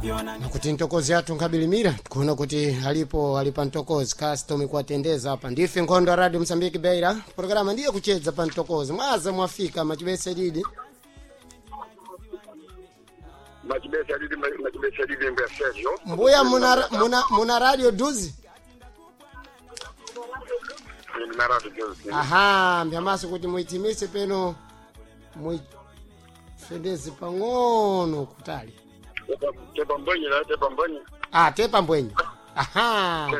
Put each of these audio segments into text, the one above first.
Nakuti ntokozi athu nkhabilimira tikuona kuti alipo ali pa ntokozi custom kuatendeza apa ndife nkhondo ya Radio Msambiki Beira programa ndiye kuchedza pa ntokozi mwaza mwafika machibese didi. Machibesa didi, machibesa didi mbuya Sergio. Mbuya muna radio duzi. Ndina radio duzi. Aha, mbyamaso kuti muitimise peno muifendeze pang'ono kutali. Tepa mbwenye la tepa mbwenye. Ah, tepa mbwenye. Aha.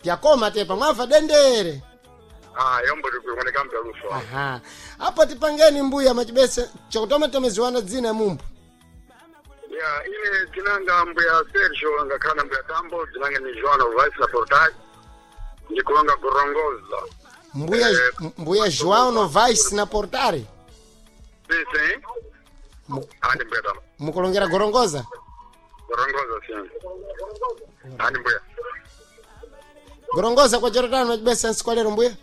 Pyakoma tepa mwamva dendere. Ah, yombo tikuoneka mpya luso. Aha. Apo tipangeni mbuya machibese chokutoma tomeziwana dzina ya mumbu. Ya, ine tinanga mbuya Sergio ngakhala mbuya Tambo, tinanga ni Joana Vice na Portal. Ndikulonga kurongoza. Mbuya mbuya João Novaes na Portare. Sim, sim. Andi mbuya Tambo. Mukulongera gorongoza. Kurongoza sim. Andi mbuya. Gorongoza kwa Jordan machibese nsikwalero mbuya.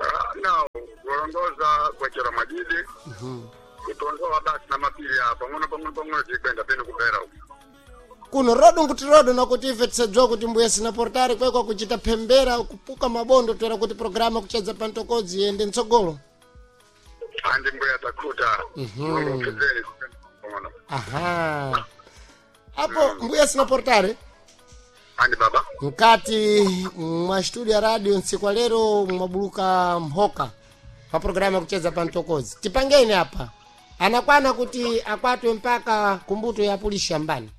Ah, no, kurongoza kwa chera majidi. Kutondoa basi na mapili hapa. Pang'ono pang'ono pang'ono tikwenda peno kupera huko. Kuno rodo nkuti rodo nakuti ife tisadzwa kuti mbuya sina Portare kwekwa kuchita phembera kupuka mabondo toera kuti programa kuchedza pantokodzi yende mtsogolo. Andi mbuya takuta. Pezeni pang'ono. Aha. Apo mbuya sina Portare. Andi baba. Mkati mwa studio ya radio nsiku lero mwabuluka mhoka pa programa ya kucheza pa mtokozi. Tipangeni apa anakwana kuti akwatwe mpaka kumbuto ya puli shambani.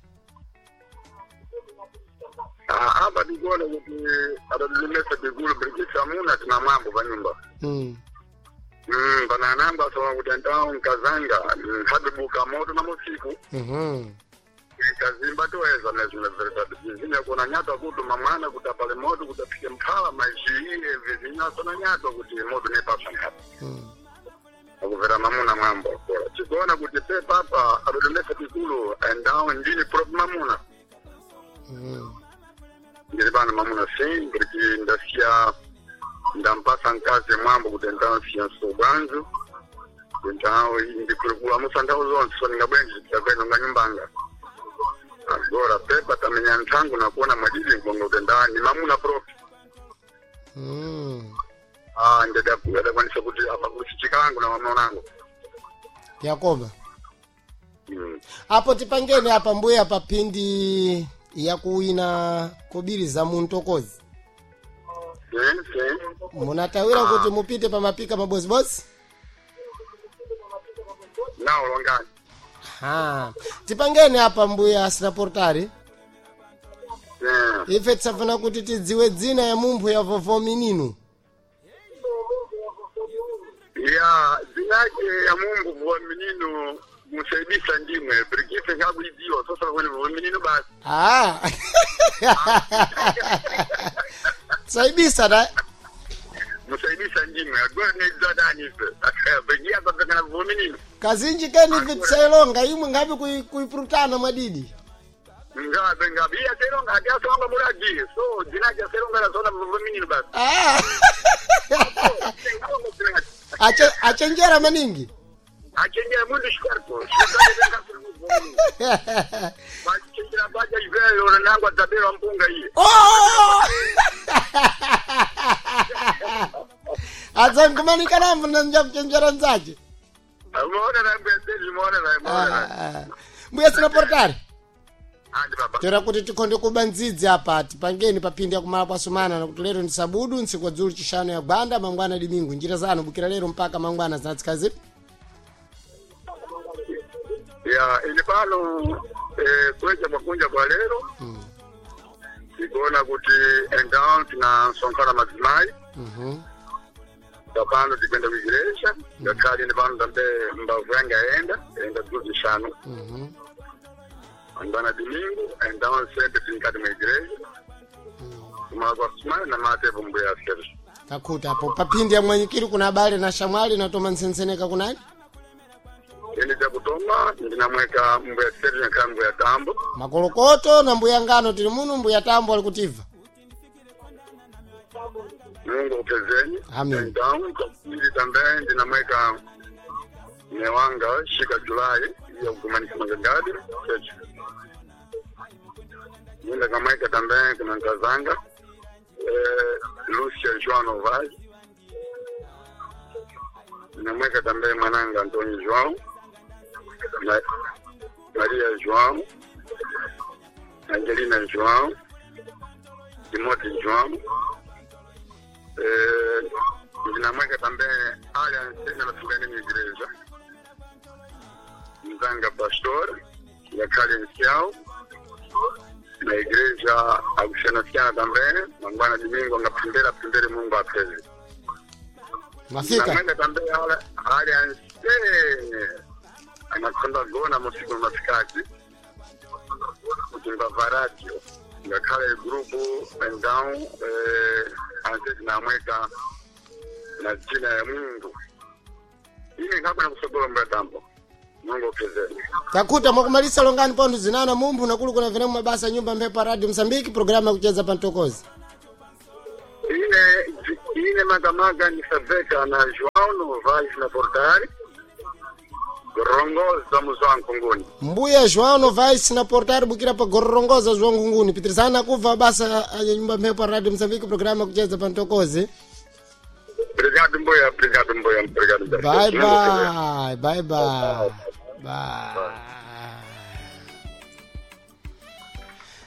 Ah, apa tikuona kuti atatilimesa tikulu brikisa muna tina mwambo pa nyumba. Pana anamba asowa kuti antawo nkazanga nkhabibuka moto na musiku. Kazimba toeza nezvinoveretatu vizinya kuona nyatwa kuti mamwana kuti apale moto kuti aphike mphala maizhiiye vizinya asona nyatwa kuti moto nepapsa nkhapi. Akuvera mamuna mwambo akora tikuona kuti pepapa atatilimesa tikulu andawo ndini prop mamuna. Ndiri pano mamuna sim porque ndasiya ndampasa mkazi mwambo kuti ndasiya sobwanzu então ndikulukula musandau zonse so ndingabwenji ndakwenda nga nyumbanga agora pepa tamenya nthangu nakuona mwadidi nkonga kuti nda ni mamuna propi. Ah, ndadakwanisa kuti apa kusichikangu na mamunangu. Yakoba apo tipangeni apa mbuya papindi yakuwina kobiri za muntokozi. Sim sim. Munatawira kuti mupite pamapika mabozibodzi. Nawo longani. Ha. Tipangeni apa mbuya sina Portare. Ife tisafuna kuti tidziwe dzina ya mumphu ya vovo mininu. Ya zinake ya mungu vuwa minino musaidisa ndimwe brigite ngakuidziwa sasa kwene vuwa minino basi. Ah. Saibisa da. Musaidisa ndimwe agora neidzadani ife brigia papekana vuwa minino. Kazinji keni ife tisailonga imwe ngapi kuiprutana mwadidi. Ngabe ngabe iya seronga ati asonga muradi so zinake aseronga razona vuwa minino basi. Ah. Achenjera maningi. Achenjera mundu shikarpo bachenjera baja iveyo nangwa dzabera mpunga iye. Oh! Adzangumanika nambo nanja kuchenjera nzache. Muona na mbuya Sergio, muona na muona na. Mbuya sina Portare. Andi baba. Tera kuti tikhonde kuba ndzidzi apa tipangeni papindi yakumala kwasumana nakuti lero ndi sabudu ntsiku dzulu chishanu ya gwanda mangwana dimingu njira zanu bukira lero mpaka mangwana zinatsikazi. Ya ili pano kuleja makunja kwa lero. Tikuona kuti endown tinasonkhana madzimai. Tapano tikwenda kuigireja ngakhale ndi pano tambe mbavu yanga yaenda yaenda dzulu zishanu. Andana domingo endown sempre tinkati mwa igreja kumala kwa sumana na matepo mbuya Sergio. Kakhuta apo papindi ya mwanyikiri kuna abale na shamwali natoma ntsenseneka kunani. Ine chakutoma ndinamweka mbuya Sergio nkhala mbuya Tambo. Makolokoto na mbuya ngano tili muno mbuya Tambo ali kutiva. Mungu upezeni. Amen. Então, ili também ndinamweka newanga shika Julai ya kukumanika magangadi. Yenda kamweka também kuna Nkazanga, Lúcia João Novaes. Namweka também mwananga Antônio João, Maria João, Angelina João, Timóteo João. Ndinamweka também Alliance na Sugani Igreja. Mzanga Pastor, ya Kalencial, na igreja akusiyanasiyana também, mangwana domingo angapembera pembere Mungu apeze. Mafika. Namweka também Alliance anakonda gona musiku masikati kuti mbava radio ngakhale grupu então anse tinamweka na jina ya Mungu ine nkabwena kusogola mbatambo Mungu apezeni. Takuta mwakumalisa longani pontho zinana mumphu nakulu kuna vene mabasa nyumba mphepo radio Msambiki programu yakucheza pantokozi. Ine makamaka nisabveka na João Novaes na Portari gorongoza muzwa nkunguni. Mbuya João Novaes na Portari bukira pa gorongoza zwa nkunguni. Pitirizana kubva basa ya nyumba mphepo radio Msambiki programu yakucheza pantokozi. Obrigado mbuya, obrigado mbuya, obrigado mbuya. Bye bye, bye bye. Bye.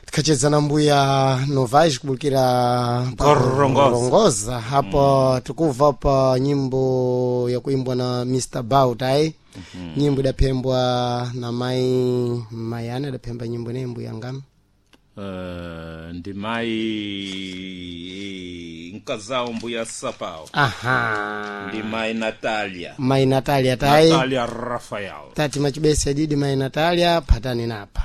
Tikacheza na mbuya Novaes kubukira pa Gorongoza. Gorongoza hapo tukubva pa nyimbo ya kuimbwa na Mr. Bautai. Nyimbo idapembwa na mai Mayana idapemba nyimbo ne mbuya ngam. Ndi mai nkazao mbuya sapao. Aha. Ndi mai Natalia. Mai Natalia tai. Natalia Rafael. Tati machibesi adidi mai Natalia patani napa.